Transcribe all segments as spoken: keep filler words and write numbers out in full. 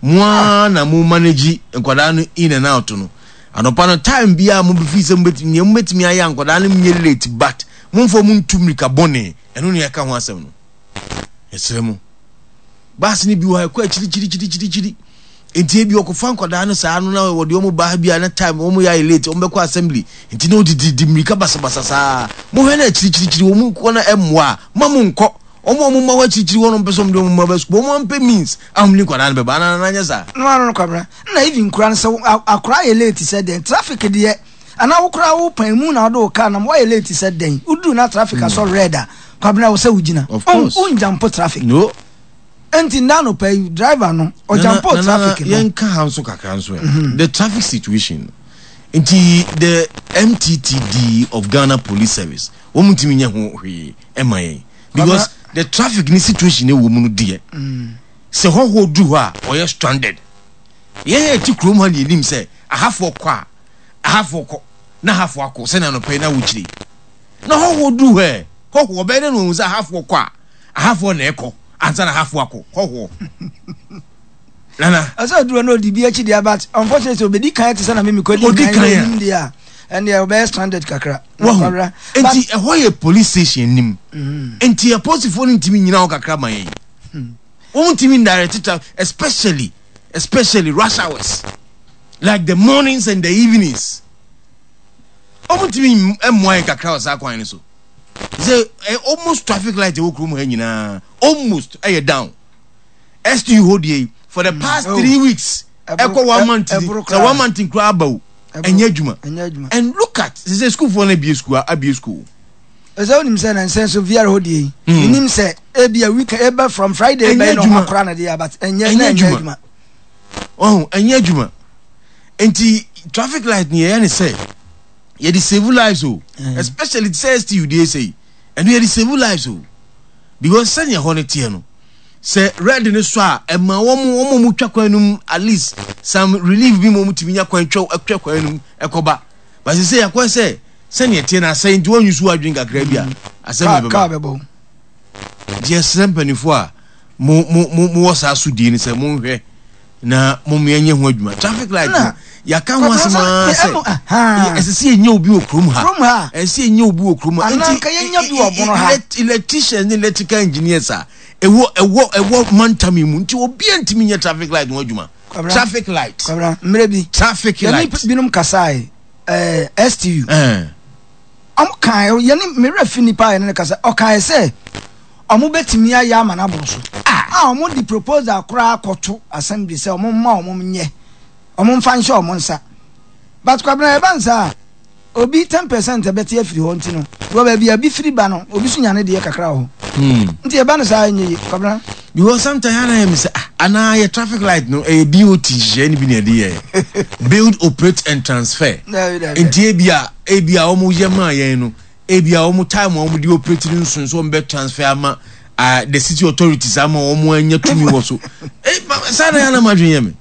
Mo ara na mo manage nkwadaa no in and out no. Anɔpa no, time biara mo bɛfi sɛ mobɛtumi, nea mobɛtumi ayɛ a nkwadaa no nyɛ late, but momfa mo ntu mmirika bɔne. Ɛno ne yɛka ho asɛm no. Yɛsrɛ mo. Bus no bi wɔ ha, ɛkɔ akyirikyirikyirikyiri. Nti ebi ɔkɔfa nkwadaa no saa no na wɔde wɔn ba ha bi a, na time wɔn yɛ ayɛ late, wɔn bɛkɔ assembly. Nti na wɔdidi di mmirika basabasa saa. Mohwɛ no akyirikyirikyiri wɔn kɔ na ɛmmoa a, ma mo nkɔ. Wɔn a wɔn mma hɔ akyirikyiri hɔ no mpɛ sɛ wɔn de wɔn mma bɛ sukuu. Wɔn ampɛ means a wɔn de nkwadaa no bɛba. Anaa nana nyɛ saa? No ano no, Kwabena, na even kura no sɛ akora yɛ late sɛ dɛn, traffic deɛ, anaa wo koraa wo pan mu na wode wo car nam, woayɛ late sɛ dɛn, woduru na traffic asɔ red a, Kwabena, wo sɛ wogyina. Of course. Wonjump traffic. No. Enti nna anɔpa yi driver no ɔjump traffic no. Yɛnka ha nso kakra nso ɛ, the traffic situation nti, the M T T D of Ghana Police Service, wɔn ntumi nyɛ ho hwee ɛma yɛn, because the traffic ni situation ɛwɔ mu no deɛ, sɛ hɔhoɔ duru hɔ a, ɔyɛ stranded. Yɛn yɛ ti kurom ha ne yɛnim sɛ ahafoɔ kɔ a, ahafoɔ kɔ na ahafoɔ akɔ sɛnea anɔpa yi na wokyire na hɔhoɔ duru hɔ ɛ, hɔhoɔ bɛyɛ dɛ na wɔn sɛ ahafoɔ kɔ a, ahafoɔ na ɛkɔ ansa na ahafoɔ akɔ. Hɔhoɔ, nana. Ɛsɛ oduro no odi bi akyi deɛ, but unfortunately obedi kan te sɛ na mímí kɔ di Odi kan kan na a. onim deɛ a, ɛnneɛ ɔbɛyɛ stranded kakra. Wahu? Kwabena. Nti ɛhɔ yɛ police station nim, nti apolisifoɔ no ntumi nyina hɔ kakra ma yɛn? Wɔn ntumi ndirect traffic, especially especially rush hours like the mornings and the evenings? Wɔn ntumi mmoa yɛn kakra wɔ saa kwan no so sɛ ɛ almost traffic light ɛwɔ kurom ha nyinaa almost ɛyɛ down? S T U hɔ deɛ yi, for the past Oh. three weeks Ɛboro- ɛkɔ one ɛ- month ni ɛboro sɛ koraa. one month nkura aba o, Ɛboro- ɛnyɛ adwuma. Ɛnyɛ adwuma. And look at sɛ sukuufoɔ no abie school, abie school. Ɛsɛ onim sɛ na nsɛn so V R hɔ deɛ yi, Mm. menim sɛ ebi a week eba from Friday Ɛnyɛ bɛyɛ na adwuma. ɔmo akora no deɛ, but ɛnyɛ Ɛnyɛ na ɛnyɛ adwuma. adwuma. Ɔho ɛnyɛ adwuma. Nti traffic light ni yɛyɛ ne sɛ yɛde save lives o, especially sɛ S T U deɛ sɛ yi, ɛno yɛde save lives o, because sɛnea ɛhɔ no teɛ no, sɛ red ne so a, ɛma wɔn wɔn a wɔn twa kwan no mu at least some relief bi ma wɔn tumi nya kwan twa twa kwan no mu ɛkɔba. But sɛ yɛakɔ sɛ sɛnea ɛteɛ no asɛe, nti wɔn nyusu adwene kakra bi a, asɛm na kaa kaa ɛbɛba. Bɛbɔ. Nti yɛsrɛ mpanimfoɔ a mo mo mo mowɔ saa sodie no sɛ monhwɛ na mo yɛnyɛ ho adwuma. Traffic light no, Na, yɛaka ho asɛm ara sɛ ɛmo- aha. ɛsɛ sɛ yɛnya obi wɔ kurom ha. Kurom ha. Ɛsɛ sɛ yɛnya obi wɔ kurom ha. Anaa nka yɛnya bi wɔ bono ha. elect- electricians ne electrical engineers a ɛwɔ ɛwɔ ɛwɔ mantam yi mu, nti obiara ntumi nyɛ traffic light ho adwuma? Kwabena. Traffic light. Kwabena, mmerɛ bi Traffic yɛne light. binom kasae, ɛɛ S T U, ɛn ɔmo kan yɛne mmerɛ fi nipa a yɛne no kasa, ɔkae sɛ ɔmo bɛtumi ayɛ ama no aboro so a, ɔmo de proposal koraa kɔto assembly sɛ ɔmo mma ɔmo nyɛ, ɔmo mfa nhyɛ ɔmo nsa. But Kwabena, ɛba nsa a, obi ten percent ɛbɛte afiri hɔ, nti no wɔ baabi a bi firi ba no, obi so nya ne deɛ kakra wɔ hɔ, hmm. nti ɛba no saa, ɛnyɛ yie, Kwabena. Because sometimes ana yɛ mi sɛ, ah, anaa yɛ traffic light no ɛyɛ B O T nhyehyɛ ni bi na yɛde yɛ, build, operate and transfer? Dabi, dabi. Nti ebi a ebi a wɔn yɛ maa yɛn no, ebi a wɔn time a wɔn de operate no nso nso wɔn bɛ transfer ama uh, the city authorities ama wɔn anya tumi wɔ so. Eh, ma- saa na yɛn anam adwene yɛ mi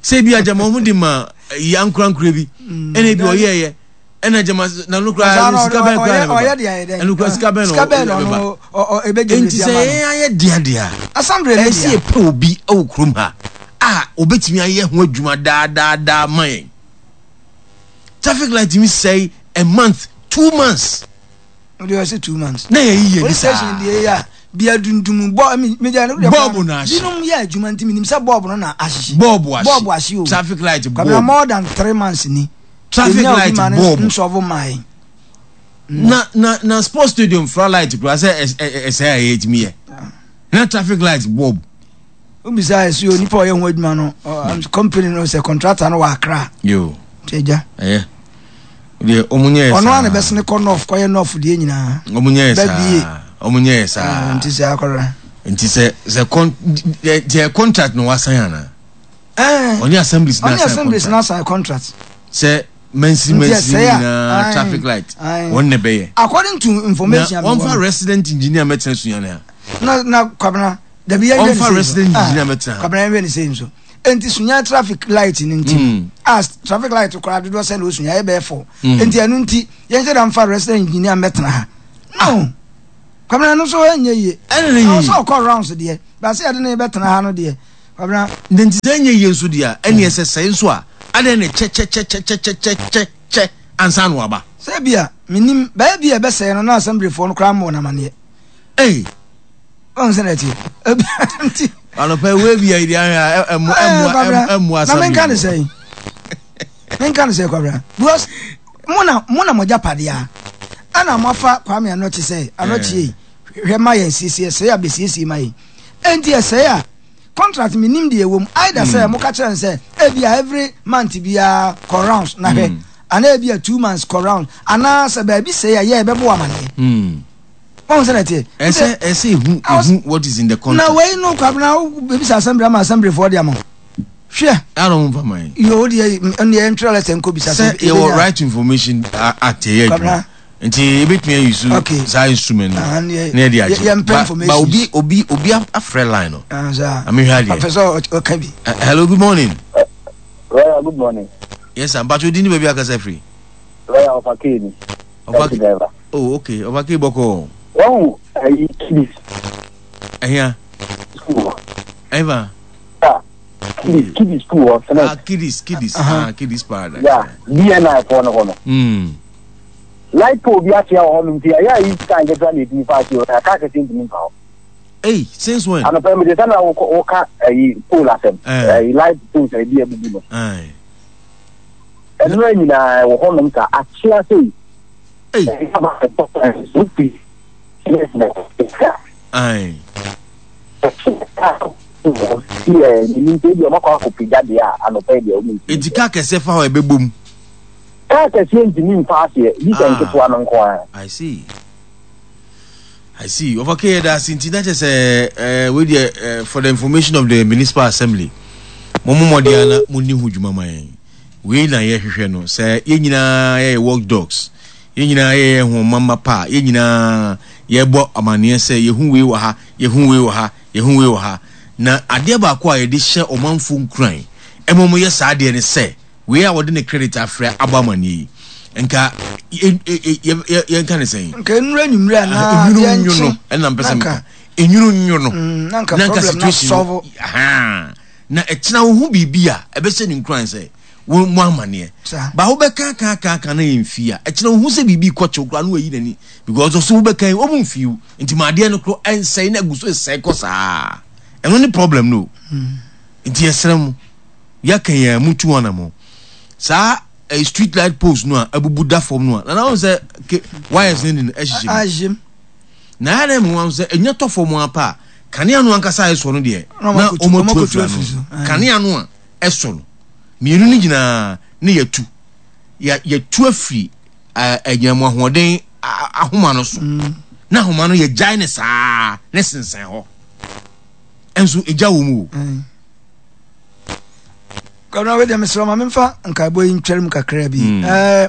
sɛ ebi a gyama wɔn de ma yi ankorankora bi, ɛna ebi ɔyɛ yɛ, ɛna gyama na no Saa kura no, sika bɛn kura ɔyɛ na ɔyɛ bɛba deɛ ayɛ dɛn? Ɛno kura sika bɛn na Sika bɛn na ɔbɛba? ɔno ɔ- ɔ- ɛbɛgye Nti sɛ yɛn ayɛ dea dea assembly ne ɛsɛ deɛ. yɛpɛ obi wɔ kurom ha a obetumi ayɛ ho adwuma daadaadaa ma yɛn. Traffic light mi sɛe a month, two months. Ɔde ɔsɛ two months. Na yɛ yiye ni Police station saa. Deɛ yɛ a bia dundum bɔ mi mi deɛ no deɛ. Bulb na ahye. Binom yɛ adwuma nti minim sɛ bulb no na ahyehye. Bulb ahye. Bulb ahye o. Traffic light Kwabena, bulb. more than three months ni. Traffic Enya obi light ma ne bulb. nsɔfo maa yi. na na na sports stadium fra light kura sɛ ɛsɛ a yɛtumi yɛ na traffic light bulb. Obisa ɛsi o, nipa a ɔyɛ ho adwuma no, ɔ- company no sɛ contractor no wɔ Accra. Yo. Nti agya. Ɛyɛ deɛ ɔmo nyɛ yɛ Ɔno saa. a na bɛsene kɔ north kɔyɛ north deɛ nyinaa. Ɔmo nyɛ yɛ Bɛbie. saa, ɔmo nyɛ yɛ saa. Nti sɛ akɔra. Nti sɛ sɛ con deɛ deɛ contract na wasan ana? Ɛɛ. Ɔne assemblies na Ɔne asan assemblies na contract asan contract. Sɛ mansi Nti mansi ɛsɛe a, nyinaa aye, traffic light aye. wɔn na bɛyɛ. According to Na information a mewɔ wɔnfa no. resident engineer mɛtena Sunyani ha? na na Kwabena, dabi, yɛn hwɛ ne Ɔmfa sei resident nso. Ah, engineer mɛtena ha. Kwabena, yɛn hwɛ ne sei nso. Nti Sunya traffic light ni nti Mm. a traffic light koraa dodoɔ sɛ na osunya yɛ bɛyɛ four. Mm. Nti ɛno nti yɛn hyɛ da nfa resident engineer mɛtena ha no, Kwabena, no nso ɛnyɛ yie. Ɛna ne Ɛwɔ yie. sɛ ɔkɔ rounds deɛ, baasi yɛde ne bɛtena ha no deɛ, Kwabena. Na nti sɛ ɛnyɛ yie nso deɛ a, ɛneɛ sɛ sɛe nso a, adɛn ne kyɛkyɛkyɛkyɛkyɛkyɛkyɛ ansa na waba? Sɛ bi a, menim, bɛyɛ bi a ɛbɛsɛe no na assemblyfoɔ no koraa mmɔɔ no amaneɛ. Ei! Ɔn sɛ na ɛteɛ. Nti. Anɔpa wei bi a yɛde ahwɛ a ɛmmoa ɛmmoa ɛmmoa assembly. Na menka ne sɛn? Menka ne sɛ Kwabena. Because mo na mo na mo agyapadeɛ a ɛna mo afa Kwame Anɔkye sɛ Anɔkye yi hwɛ ma yɛn siesie ɛsɛe a bɛsiesie ma yɛn. Enti ɛsɛe a contract mi nim deɛ ɛwɔ mu either sɛ mm. mo ka kyerɛ no sɛ ebi a every month biara kɔ rounds na hwɛ mm. anaa ebi a two months kɔ rounds anaa sɛ baabi sɛe a yɛ ɛbɛbɔ amaneɛ. Mm. Wɔn sɛ na ɛteɛ. Ɛsɛ ɛsɛ ehu ehu what is in the contract. Na wei no Kwabena bebisa assembly ama assembly foɔ de ama hwɛ. Ɛna wɔn fa man. Yoo deɛ ɛnneɛ ntwerɛ lɛtɛ nkɔ bisa sɛ. Sɛ yɛwɔ right to information act yɛ adwuma. Nti ebetumi ayi so saa instrument no na yɛde agye. Ba ba obi obi obi afrɛ line no. Amehwɛ adeɛ. Ɔpɛ sɛ ɔka bi. Hello, good morning. Lawyer, good morning. Yes sir, mpatwa odi ni baabi akasa firi. Lawyer, ɔfa kee ni. Ɔfa kee. Oh okay, ɔfa kee bɔkɔ. Wɔn ayi kidis. Ɛhia. School hɔ. Ɛhia. Ah, kidis kidis school hɔ. Ah, kidis kidis ah kidis paradise. Yeah, B N I foɔ no hɔ no. Mm. Light pole bi akyea wɔ hɔ nom nti ɛyɛ ayi sika nketewa na etumi fa akyea hɔ na kaa kɛseɛ ntumi nfa hɔ. Hey, since when? Anɔpɛ mi de sɛ na woka ɛyi pole asɛm. Ɛyi light poles a ebi abubu no. Ɛnura nyinaa wɔ hɔ nom sa akyea sei. Hey. Wofi. Aye. Eti kaa kɛseɛ fa hɔ ɛbɛbɔ mu. Kaa kɛseɛ ntumi nfa aseɛ bi sɛ nketewa no nko ara. I see. I see. Ɔfa kee yɛda ase nti na kyerɛ sɛ ɛɛ wei deɛ ɛɛ for the information of the municipal assembly, mo mo mmɔden ana mo ni ho dwuma ma yɛn. Wei na yɛhwehwɛ no sɛ yɛn nyinaa yɛyɛ work dogs, yɛn nyinaa yɛyɛ ho mama pa, yɛn nyinaa yɛbɔ amaneɛ sɛ yɛhu wei wɔ ha, yɛhu wei wɔ ha, yɛhu wei wɔ ha. Na adeɛ baako a yɛde hyɛ ɔmanfo nkuran ɛma wɔn yɛ saa adeɛ ne sɛ wei a wɔde ne credit afrɛ abɔ amaneɛ yi, nka yɛnka ne sɛn? Nka enura nwumire anaa enwunu nwo no ɛna mpɛ sɛ meka enwunu nwo no na nka situation no na ɛkyena wo ho biribi a ɛbɛhyɛ ne nkuran sɛ wo mo amaneɛ ba wobɛka ka ka ka na yɛ mfii a ɛkyena wo ho sɛ biribi kɔkyew koraa na wayi n'ani because ɔso wobɛka yi ɔmo mfii wo nti ma adeɛ no koro ɛnsɛe na agu so ɛsɛe kɔ saa. Ɛno ne problem no. Nti yɛsrɛ mo, yɛaka yɛn mu tu anamɔ saa eh, street light post no a abubu da fam no a nana wɔn sɛ ke wires ne ne ɛhyehyɛ mu na ayɛ dɛ mu wɔn sɛ enya tɔ fam apa a, kanea no ankasa a ɛsɔ no deɛ na wɔn atu afira no. Kanea no a ɛsɔ no mmienu no nyinaa ne yɛtu yɛtu afiri ɛnyinamu ahoɔden ahoma no so mm. Na ahoma no yɛgyae ne saa ne sensɛn hɔ ɛnso egya wɔ mu o. Kwabena, wei deɛ mesrɛ ma memfa nkaebɔ yi ntwɛre mu kakra bi mm. eh,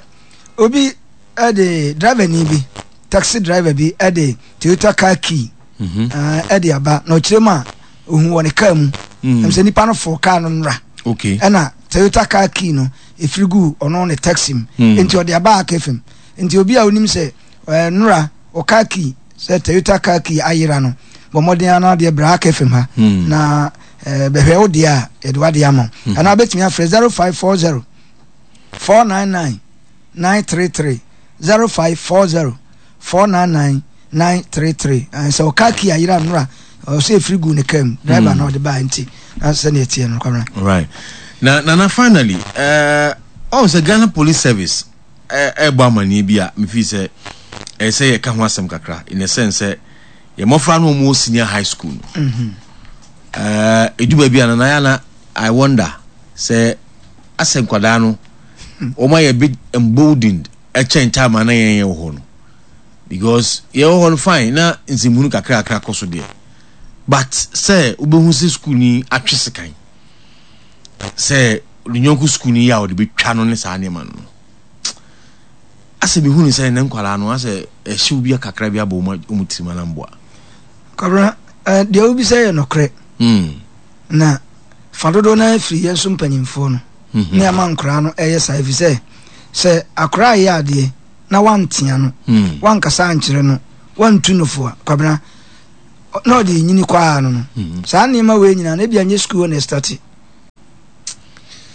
obi ɛde driver ni bi, taxi driver bi ɛde Toyota car key mhm. eh, ɛde aba na ɔkyerɛ mu a ohun wɔ ne car mu mm. Ɛm sɛ nipa no fo car no nnora ɛna Toyota car key no efiri gu ɔno ne taxi mu mm. Nti ɔde aba aka fam nti obi a onim sɛ ɛɛ nnora ɔ car key sɛ Toyota car key ayera no, bɔ mmɔden ano adeɛ bra aka fam ha mm. na ɛɛ bɛhwɛ wo deɛ a yɛde wadeɛ ama wo mm. Anaa bɛtumi afrɛ zero five four zero four nine nine nine three three, zero five four zero four nine nine nine three three. Sɛ ɔka key ayera nnora ɔsɛ efiri gu ne kaa mu, driver na ɔde baa nti na sɛdeɛ ɛteɛ no, Kwabena. Right. Na Nana, finally, ɛɛ ɔn sɛ Ghana Police Service ɛɛbɔ amaneɛ bi a mefi sɛ ɛyɛ sɛ yɛka ho asɛm kakra in a sense sɛ yɛ mmɔfra no wɔn wɔ senior high school no ɛɛ edu baabi a nana yɛ ana I wonder sɛ asɛ nkwadaa no wɔn ayɛ bit emboldened ɛkyɛn time a na yɛn yɛ wɔ hɔ no, because yɛ wɔ hɔ no fine na nsɛmhunu kakra kakra kɔ so deɛ, but sɛ wobɛhu sɛ school ni atwe sekan sɛ ne nyɔnko school ni yɛ a ɔde bɛtwa no ne saa nneɛma no, asɛ mehu ne sɛ ne nkwadaa no asɛ ɛhyew bi kakra bi abɔ wɔn wɔn tirim anamboa. Kwabena, eh, deɛ wobisa yɛ nokorɛ mm. Na fa dodoɔ no afiri yɛn so mpanyimfoɔ no mm -hmm. Ne ama nkoraa no ɛyɛ saa ɛfiri sɛ sɛ akoraa yɛ adeɛ na wantea no mm. wankasa ankyerɛ no, wantu no fo a, Kwabena, Na ɔde nyini kɔ ara no no saa nneɛma wei nyinaa no, ebia nyɛ sukuu hɔ na ɛstart.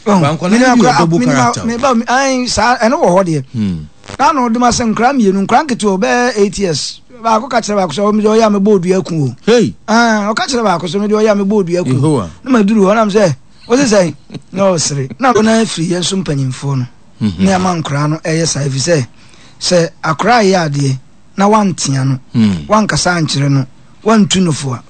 Ba nkwadaa no bi wɔ double character o. Meba, ayi, saa ɛno wɔ hɔ deɛ. Hmm. Na na ɔde ma sɛ nkwadaa mmienu, nkwadaa nketewa, ɔbɛyɛ eight years. Baako ka kyerɛ baako sɛ, ɔmo de ɔyɛ a mebɔ odua ku o. Hey. Ah, ɔka kyerɛ baako sɛ, mede ɔyɛ a mebɔ odua ku. Yehowa. Na ma duru hɔ nam sɛ, wose sɛn? Na ɔsere. Na ɔno afiri yɛn so mpanyimfoɔ no Mhm. ne ama nkwadaa no ɛyɛ saa, ɛfiri sɛ sɛ akwadaa yɛ adeɛ na wantea no, Hmm. wankasa ankyerɛ no, wantu no fo a